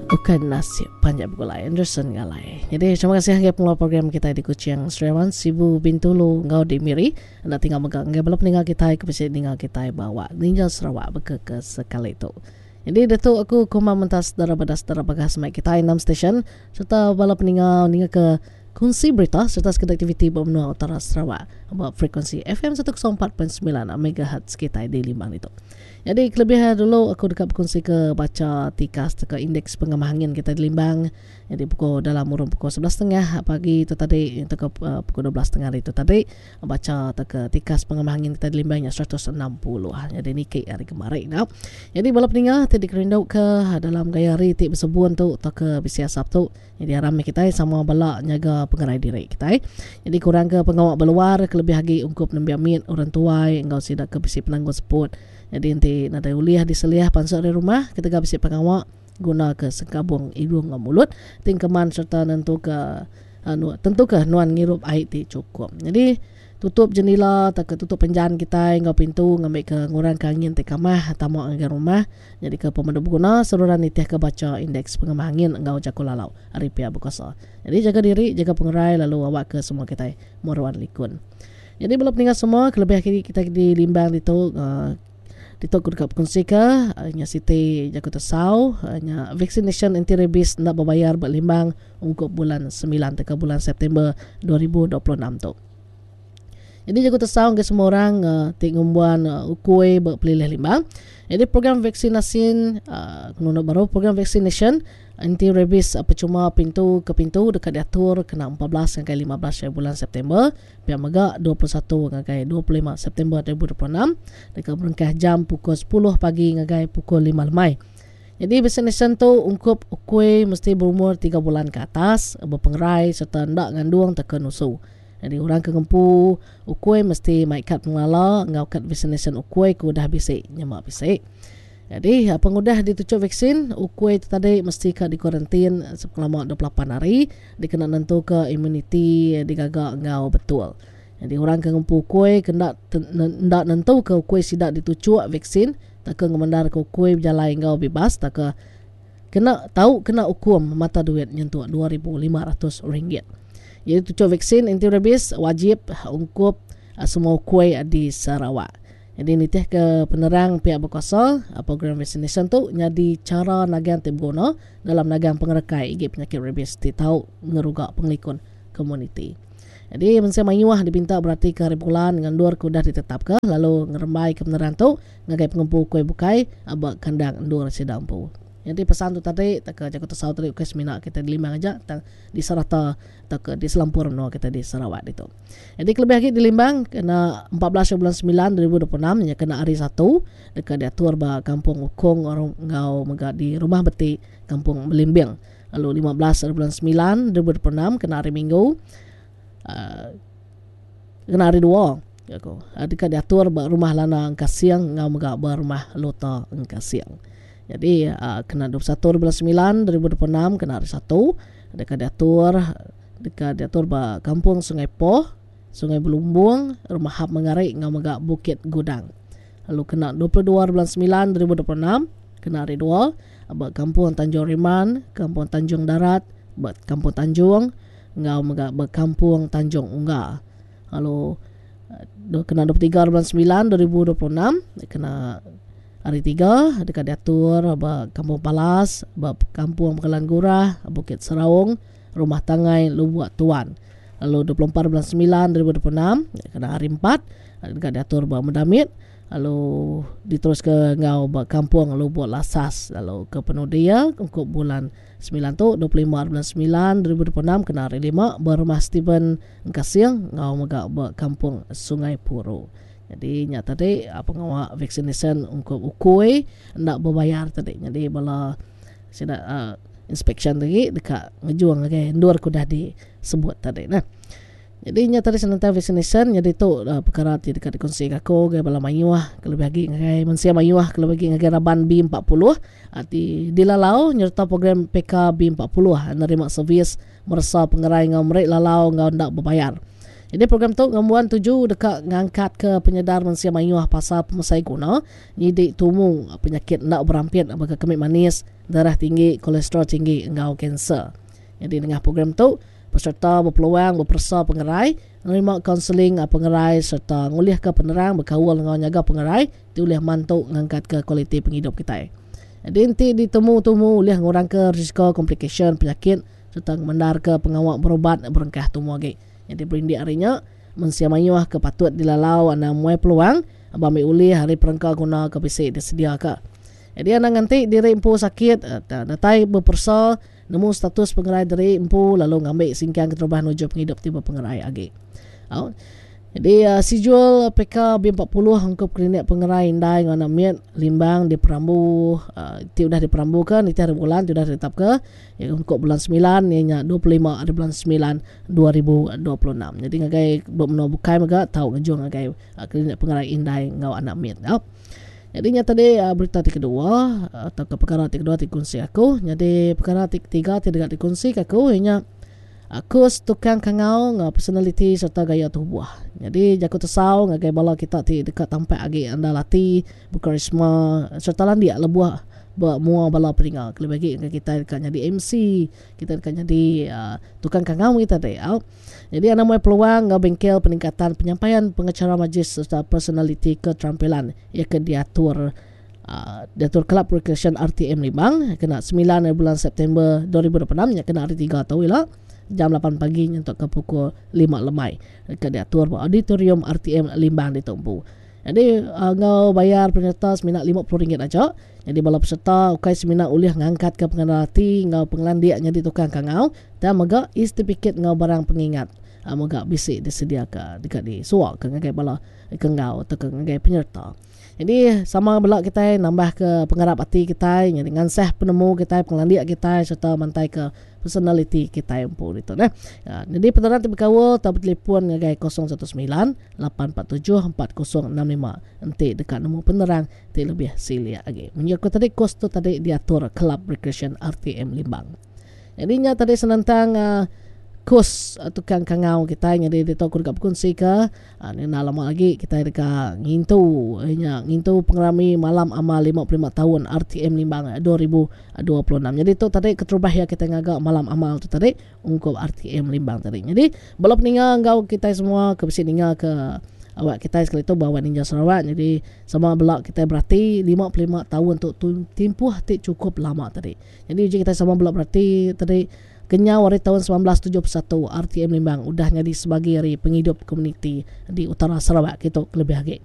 Ukai Nasib Panjai Begulai Anderson Ngalai. Jadi terima kasih ngagai pengeluar program kitai di Kuching, Sri Aman, Sibu, Bintulu enggau di Miri. Enda tinggal mega ngagai bala peninga kitai ke bisi ninga kitai ba awak Ninja Sarawak baka ke sekali tu. Jadi ditu aku Kumang Mentas Dara Badas Dara Bagas mai kitai enam stesen sereta bala peninga ninga ke kunsi berita sereta sekeda aktiviti ba menua utara Sarawak ba frekuensi FM 104.9 MHz kitai di Limbang ditu. Nyadi kelebih dulu aku deka bekunsi ke bacha tikas tauka indeks pengamah angin kitai di Limbang nyadi pukul dalam urung pukul sebelas setengah pagi tu tadi tauka pukul 12 tengah hari tu tadi bacha tauka tikas pengamah angin kitai di Limbang nya 160 nyadi niki hari kemari nya. Nyadi bala peninga ti dikerindu ke dalam gaya hari ti besebun tu tauka bisi asap tu nyadi aram meh kitai sama bala nyaga pengerai diri kitai. Nyadi kurang ke pengawa ba luar kelebih agi ungkup nembiak mit, orang tuai enggau sida ke bisi penanggul seput. Nyadi enti nadai ulih diseliah pansut ari rumah ketegal bisi pengawa guna ke sengkabung idung enggau mulut ti engkeman sereta nentuka tentuka nuan ngirup ai ti chukup. Nyadi Tutup jendila tauka tutup penjan kitai enggau pintu ngambika ngurangka angin ti kamah tama ngagai rumah nyadika pemadu beguna seruran nitihka bacha indeks pengamah angin enggau jaku lalau ari piak bekuasa. Nyadi jaga diri, jaga pengerai lalu awakka semua kitai meruan likun. Nyadi bala peninga semua kelebih agi kitai di Limbang ditu ditu ku deka bekunsika nya siti jaku tesau nya vaksinasyen anti rabies enda bebayar ba Limbang ungkup bulan semilan tauka bulan September 2026 tu. Jadi jaku tesau ngagai semua orang uh, ti ngembuan uh, ukui ba pelilih Limbang. Jadi program vaksinasi uh, nunda baru program vaccination anti rabies uh, percuma pintu ke pintu deka diatur kena 14 ngagai 15 bulan September pia mega 21 ngagai 25 September 2026 deka berengkah jam pukul 10 pagi ngagai pukul 5 lemai. Jadi vaccination tu ungkup ukui mesti berumur 3 bulan ke atas, bepengerai serta enda ngandung tauka nusu. Nyadi orang ke ngempu ukui mesti mai kad pengelala enggau kad vaksinasyen ukui ke udah bisi nyema bisi. Nyadi pengudah dituchuk vaksin, ukui tu tadi mesti ka dikuarantin sepengelama 28 hari dikena nentuka imuniti digaga enggau betul. Nyadi orang ke ngempu ukui ke enda enda nentuka ukui sida dituchuk vaksin tauka ngemendarka ukui bejalai enggau bibas tauka Kena tau kena ukum mata duit nyentuk 2500 ringgit. Jadi tuchuk vaksin anti rabies wajib ungkup semua ukui di Sarawak. Jadi nitih ke penerang pihak berkuasa, program vaksinasyen tu nyadi chara nagang ti beguna dalam nagang pengerekai igi penyakit rabies ti tau ngeruga pengelikun komuniti. Jadi mensia mayuh dipinta beratika hari bulan enggau endur ke udah ditetapka lalu ngerembaika penerang tu ngagai pengempu ukui bukai ba kandang endur sida empu. Nyadi pesan tu tadi tauka jaku tesau tadi ukai semina kitai di Limbang aja tang di serata tauka di selampur menua kitai di Sarawak ditu. Nyadi kelebih agi di Limbang kena 14 bulan 9 2026 nya kena hari Satu deka diatur ba Kampung Ukong enggau mega di Rumah Beti Kampung Belimbing. Lalu 15 hari bulan 9 2026 kena hari Minggu uh, kena hari Dua aku deka diatur ba Rumah Lana Engkasing enggau mega ba Rumah Lota Engkasing. Jadi uh, kena 21 bulan 9 2026 kena hari Satu deka diatur deka diatur ba Kampung Sungai Poh, Sungai Belumbung, Rumah Hap Mengari enggau mega Bukit Gudang. Lalu kena 22 bulan 9 2026 kena hari Dua ba Kampung Tanjung Riman, Kampung Tanjung Darat, ba Kampung Tanjung enggau mega ba Kampung Tanjung Ungga. Lalu kena 23 bulan 9 2026 kena hari tiga deka diatur ba Kampung Palas, ba Kampung Pekalan Gurah, Bukit Seraung, Rumah Tangai, Lubuk Tuan. Lalu 24 bulan 9 2026 kena hari empat deka diatur ba Medamit lalu diteruska enggau ba Kampung Lubuk Lasas lalu ke penudi iya ungkup bulan 9 tu 25 bulan 9 2026 kena hari lima ba Rumah Stephen Engkasing enggau mega ba Kampung Sungai Puru. Nyadi nya tadi pengawa vaksinasyen ungkup ukui enda bebayar tadi. Nyadi bala sida uh, inspection tadi deka ngejung ngagai endur ke udah disebut tadi nah. Nyadi nya tadi senentang vaksinasyen nyadi tu uh, perkara ti deka dikongsi aku ngagai bala mayuh kelebih agi ngagai mensia mayuh kelebih agi ngagai raban B40 uh, ti dilalau nyereta program PK B40 nerima servis meresa pengerai enggau meri lalau enggau enda bebayar. Jadi program tu ngembuan tuju deka ngangkatka penyedar mensia mayuh pasal pemesai guna nyidi tumu penyakit enda berampit baka kemi manis, darah tinggi, kolesterol tinggi enggau kanser. Nyadi nengah program tu, pesereta bepeluang beperesa pengerai, nerima kaunseling pengerai sereta ngulihka penerang bekaul enggau nyaga pengerai ti ulih mantu ngangkatka kualiti pengidup kitai. Nyadi enti ditemu tumu ulih ngurangka risiko komplikasyen penyakit sereta ngemendarka pengawa berubat berengkah tumu agi. Nyadi berindik ari nya, mensia mayuh ke patut dilalau anang muai peluang ba ambi ulih ari perengka guna ke bisi disediaka. Nyadi anang nganti diri empu sakit datai beperesa nemu status pengerai diri empu lalu ngambi singkang keterubah nuju pengidup ti bepengerai agi. Au. Nyadi sijul PK B40 ungkup Klinik Pengerai Indai enggau Anak Mit Limbang diperambu ti udah diperambuka nitih hari bulan ti udah ditetapka iya ungkup bulan semilan iya nya 25 ari bulan semilan 2026. Nyadi ngagai ba menua bukai mega tau ngejung ngagai Klinik Pengerai Indai enggau Anak Mit. Nyadi nya tadi berita ti kedua tauka pekara ti kedua ti dikunsi aku. Nyadi pekara ti ketiga ti deka dikunsi ka aku iya nya kus tukang kangau enggau personaliti sereta gaya tubuh. Nyadi jaku tesau ngagai bala kita ti deka tampak agi andal ati, bekarisma sereta landik lebuh ba mua bala peninga kelebih agi ngagai kitai deka nyadi MC, Kita deka nyadi tukang kangau kita ti. Au. Nyadi anang muai peluang enggau bengkel peningkatan penyampaian pengacara majlis sereta personaliti keterampilan iya ke diatur diatur Kelab Rekreasyen RTM Limbang kena semilan ari bulan September 2026 nya kena hari tiga tu ila jam lapan pagi nyentuk ke pukul lima lemai deka diatur ba Auditorium RTM Limbang ditu empu. Nyadi enggau bayar penyereta semina RM50 aja. Nyadi bala peserta ukai semina ulih ngangkatka pengandal ati enggau pengelandik nyadi tukang kangau tang mega e-setipikit enggau barang pengingat mega bisi disediaka deka disuaka ngagai bala ke enggau tauka ngagai penyereta. Nyadi sama bela kitai nambahka pengarap ati kitai nyadi ngansah penemu kitai pengelandik kitai sereta mantaika personaliti kitai empu ditu neh. Nyadi penerang ti bekaul tau betelefon ngagai 019 847 4065 enti deka nemu penerang ti lebih silik agi. Munyi aku tadi kos tu tadi diatur Kelab Rekreasyen RTM Limbang. Nyadi nya tadi senentang uh, kos uh, tukang kangau kitai nyadi ditu aku deka bekunsi ke uh, enda lama lagi kitai deka ngintu nya ngintu pengerami malam amal 55 tahun RTM Limbang 2026. Nyadi tu tadi keterubah iya kitai ngaga malam amal tu tadi ungkup RTM Limbang tadi. Nyadi bala peninga enggau kitai semua ke bisi ninga ke awak kitai sekali tu ba awak Ninja Sarawak nyadi sama bela kitai berati 55 taun tu timpuh ti chukup lama tadi. Nyadi uji kitai sama bela berati tadi kenyau ari taun 1971 RTM Limbang udah nyadi sebagi ari pengidup komuniti di utara Sarawak kitu kelebih agi.